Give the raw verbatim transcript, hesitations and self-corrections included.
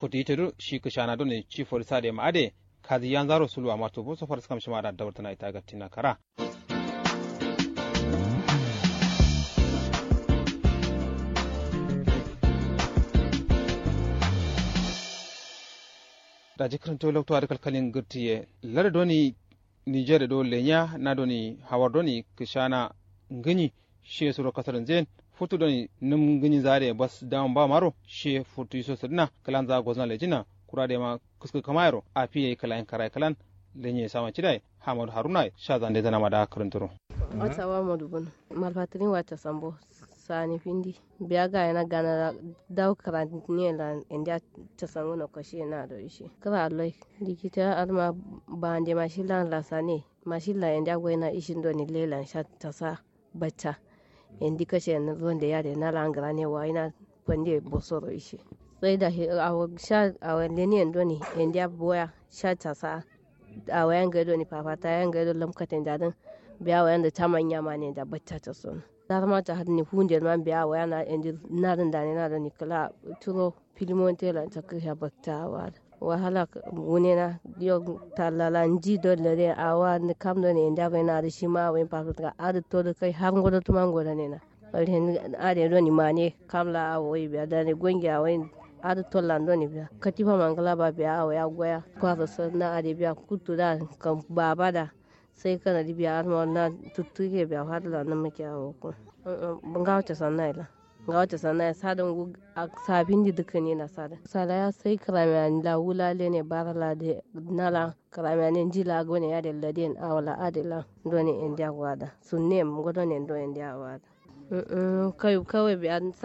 Futu yite du shi kǝshana done ci fori sade ma ade kazi yanzaro suluwa ma tubu so faraskam shima da dawartǝna ita gattina kara. Daji kǝrǝnto loktu adǝ kalkalin gǝrtiye lar doni niger do lenya na doni hawar doni kǝshana ngǝnyi. Shiye suro kasar nzen futu doni nǝm ngǝnyi zare bas dama ba maro shiye futu iso sǝdǝna kǝlan za gozna lejina kura de ma kǝskǝ kǝmayero afi yayi kǝlayin karayi kǝlan. Lenye sama cidai hamadu haruna sha zande zana ma da kǝrǝnturo. Asawa madubun malfatirin wata sambo sani findi biya gayena gana dawu kǝraniye lan endiya casanguno kashiye na do ishe kǝra loi likita adǝma bande ma shi lan lasane mashin la endiya goyena ishin doni lelan sha casa bacca. Endi kashe nǝ zonde yade na lan gǝrane wayina fande bosoro ishe sai da awo sha awo leniyen doni endiya boya sha casa. Awo ya ngai doni fafata ya ngai do lamkaten dadǝn biya awo yanda caman yamane da bacca casono. Darma ta hadni funde ma biya awo ya na endi nadǝn dane na doni kǝla curo filimonte lan cakkǝ sha bakta awo adǝ wahala wunena. Yo tallala nji do lare awo adǝ kam done endiya goyena adǝ shima awo yin fafata adǝ todǝ kai har ngodo tuma ngodo nena. Ade doni mane kam la awo wai biya dane gonge awo yin adǝ tollan doni biya katifa mangla ba biya awo ya goya kwaso sǝ na ade biya kuttu da kam baba da. Sai kana di biya adǝma na tuttuke biya fadǝ la nǝmǝke awo ko. Ngawo casanna ye la ngawo casanna ye sadǝ ngu. Safindi dǝkkǝni na sadǝ sala ya sai kǝramiya la wula lene bara la de na la kǝramiya ne nji la gone yade laden awo la ade la done endiya wada sunne yem ngodo ne do endiya wada. Kawai biya